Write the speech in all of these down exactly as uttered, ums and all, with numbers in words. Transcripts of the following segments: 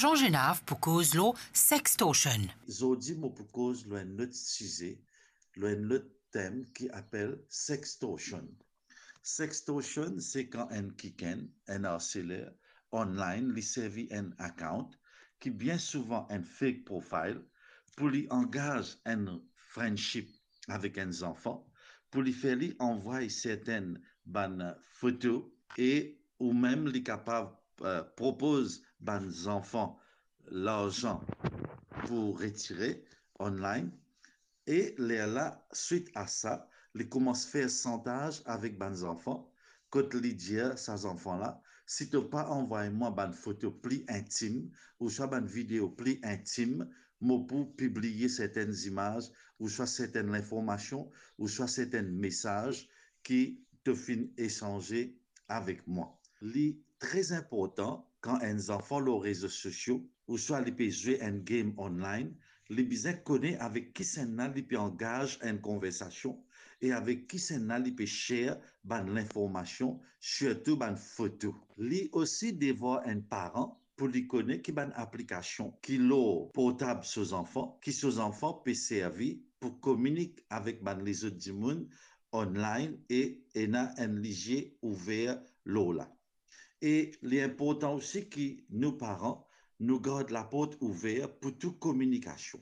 Jean Genav pou koz lor sextortion. Zordi mo pou koz lor enn lot size, lor enn lot tem ki apel sextortion. Sextortion se kan enn kikenn, enn arseler online, li servi enn account ki bien souvan enn fake profile pou li angaz enn friendship avek enn zanfan, pou li fer li anvway sertenn bann foto e ou mem li kapav, eh, propoz bann zanfan larzan pou retire online. E lerla, swit a sa, li koumans fer santaz avek bann zanfan, kot li dir sa zanfan la, "Si to pa anvway mwa bann foto pli intim, ouswa bann video pli intim, mo pou pibliye sertenn zimaz, ouswa sertenn linformasion, ouswa sertenn mesaz ki to finn esanze avek mwa." Li tre inportan kan enn zanfan lor rezo sosio, ouswa li pe zwe enn game online, li bizin kone avek kisannla li pe angaz enn konversasion e avek kisannla li pe share bann linformasion, sirtou bann foto. Li osi devwar enn paran pou li kone ki bann aplikasion ki lor portab so zanfan, ki so zanfan pe servi pou kominik avek bann lezot dimoun online e ena enn lizie ouver lor la. E li inportan osi ki nou paran, nou gard laport ouver pou tou kominikasion.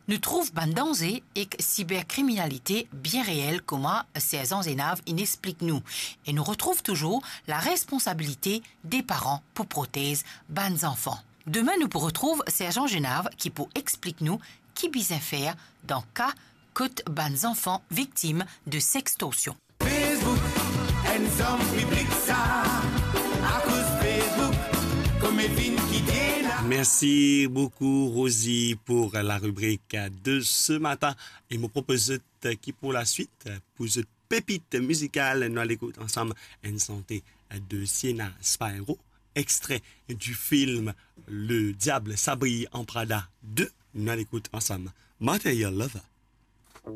Nou trouv bann danze ek siberkriminalite bien reel, kouma Serz Jean Genav inn explik nou, e nou retrouv touzour laresponsabilite de paran pou protez bann zanfan. Demin nou pou retrouv Serz Jean Genav ki pou explik nou ki bizin fer dan ka kot bann zanfan viktim de sextorsion. Facebook, enn zom piblik sa, akoz Facebook, kouma finn kite la. Merci beaucoup, Rosie, pour la rubrique de ce matin. E mo propoz zot ki pou laswit, pou zot pepit mizikal, nou al ekout ansam enn sante de Sienna Spyro, extrait du film Le Diable s'habille en Prada deux. Nou al ekout ansam Material Lover.